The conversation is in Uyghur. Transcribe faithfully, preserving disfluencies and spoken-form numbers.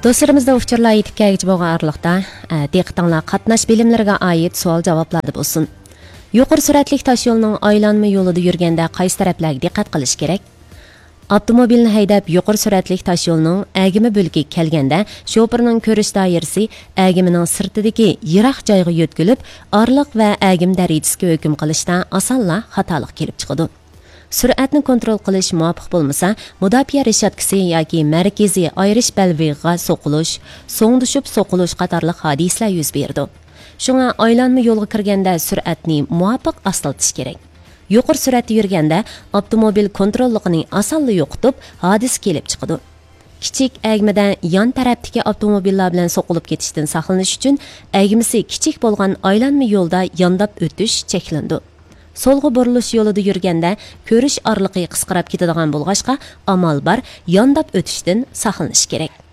دوستلىرىمىزدا ئۇچۇرلار يېتىپ كەلگۈچە بولغان ئارىلىقتا، ئە، دىققىتىڭلار قاتناش بىلىملىرىگە ئائىت سوئال-جاۋابلاردا بولسۇن. يۇقىرى سۈرئەتلىك تاشيولنىڭ ئايلانما يولىدا يۈرگەندە قايسى تەرەپلەرگە دىققەت قىلىش كېرەك؟ ئاپتوموبىلنى ھەيدەپ، يۇقىرى سۈرئەتلىك تاشيولنىڭ ئەگىمە بۆلىكىگە كەلگەندە، شوپۇرنىڭ كۆرۈش دائىرىسى ئەگىمىنىڭ سىرتىدىكى يىراق جايغا يۆتكىلىپ، ئارىلىق ۋە ئەگىم دەرىجىسىگە ھۆكۈم قىلىشتا ئاسانلا خاتالىق كېلىپ چىقىدۇ. سۈرئەتنى كونترول قىلىش مۇۋاپىق بولمىسا، مۇداپىئە رېشاتكىسى ياكى مەركىزىي ئايرىش بەلبېغىغا سوقۇلۇش، سوڭدىشىپ سوقۇلۇش قاتارلىق ھادىسىلەر يۈز بېرىدۇ. شۇڭا ئايلانما يولغا كىرگەندە سۈرئەتنى مۇۋاپىق ئاستىلىتىش كېرەك. يۇقىرى سۈرئەتتە يۈرگەندە ئاپتوموبىل كونتروللۇقىنى ئاسانلا يوقىتىپ، ھادىسە كېلىپ چىقىدۇ. كىچىك ئەگمىدە يان تەرەپتىكى ئاپتوموبىللار بىلەن سوقۇلۇپ كېتىشتىن ساقلىنىش ئۈچۈن، ئەگمىسى كىچىك بولغان ئايلانما يولدا يانداپ ئۆتۈش چەكلىنىدۇ. سولغا بۇرۇلۇش يولىدا يۈرگەندە كۆرۈش ئارىلىقى قىسقىراپ كېتىدىغان بولغاچقا، ئامال بار يانداپ ئۆتۈشتىن ساقلىنىش كېرەك.